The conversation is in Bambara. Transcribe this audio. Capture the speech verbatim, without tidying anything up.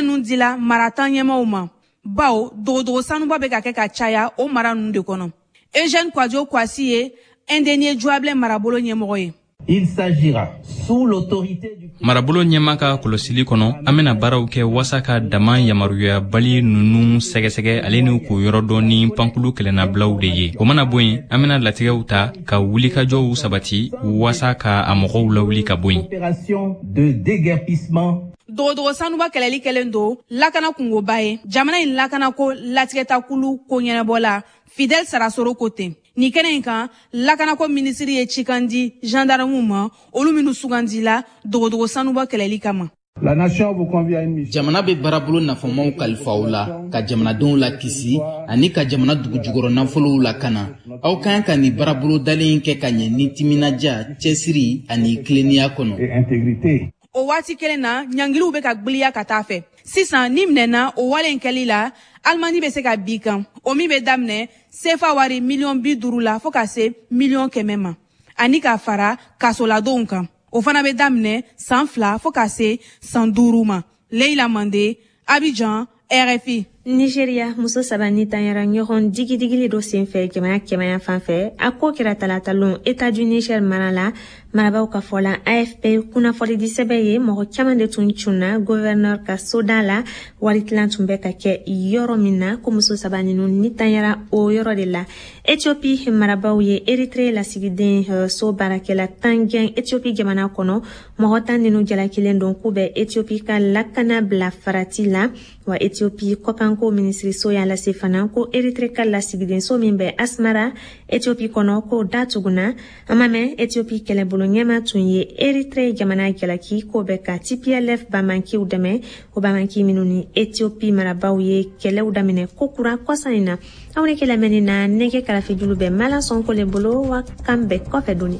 Kunnafoniya ninnu dila mara tan ɲɛmaaw ma, bawo dogodogo sanuba bɛ ka kɛ ka caya o mara ninnu de kɔnɔ. Eugène Kouadio Kouassi ye Indénié Djuablé marabolo ɲɛmɔgɔ ye. Il s'agira sous l'autorité du Marabolo ɲɛma ka kɔlɔsili kɔnɔ, an bena baaraw kɛ waasa ka dama yamaruyabali nunu sɛgɛsɛgɛ ale ni k'o yɔrɔ dɔn ni pankulu kɛlɛnabilaw de ye. O mana bɔ yen, an bena latigɛw ta ka wulikajɔw sabati waasa ka a mɔgɔw lawuli ka bɔ yen. Opération de déguerpissement. Dogodogo sanuba kɛlɛli kɛlen don lakana kungoba ye. Jamana in lakanako latigɛtakulu ko ɲɛnabɔla Fidel Sarasoro ko ten. Nin kɛnɛ in kan, lakanako minisiri ye cikan di gendarmew ma, olu minnu sugandila dogodogo sanuba kɛlɛli kama. La nation vous convie à une mission. Jamana bɛ baarabolo nafamaw kalifa aw la ka jamanadenw lakisi ani ka jamana dugujukɔrɔ nafolow lakana. Aw ka kan ka nin baarabolo dalen kɛ ka ɲɛ ni timinadiya, cɛsiri ani tilennenya kɔnɔ. Et intégrité. O waati kelen na, ɲangiliw bɛ ka gwiliya ka taa fɛ. Sisan, ni minɛna o wale in kɛli la, alimandi bɛ se ka bi kan, o min bɛ daminɛ sefa wari miliyɔn bi duuru la fɔɔ ka se miliyɔn kɛmɛ ma, ani ka fara kasoladenw kan, o fana bɛ daminɛ san fila fɔɔ ka se san duuru ma. Leila Mande, Abidjan, R F I. Nigeria, muso saba ni tanyara ɲɔgɔn digidigili dɔ senfɛ jamana kɛmɛya fan fɛ. A ko kɛra talatalon État du Niger mara la. Marabaw ka fɔ la, A F P kunnafonidisɛbɛ ye, mɔgɔ caman de tun cunna gouverneur ka soda la, waritilan tun bɛ ka kɛ yɔrɔ min na, ko muso saba ninu ni tanyara o yɔrɔ de la. Ethiopie marabaw ye Eritre lasigiden eh, so baarakɛla tan gɛn Ethiopie jamana kɔnɔ. Mɔgɔ tan ninu jalakilen don k'u bɛ Ethiopie ka lakana bila farati la. Wa Ethiopie kɔkanko minisiriso y'a lase fana ko Eritre ka lasigidenso min bɛ Asmara, Ethiopie kɔnɔ, k'o datuguna. An ma mɛn, Ethiopie kɛlɛbolo ɲɛma tun ye Eritre jamana jalaki k'o bɛ ka T P L F bamankiw dɛmɛ, o bamanki minnu ni Ethiopie marabaw ye kɛlɛw daminɛ kokura kɔsa in na. Aw ni kɛ lamɛnni na, nɛgɛ karafejulu bɛ Mala Sɔnko le bolo. Wa kan bɛɛ kɔfɛ doni.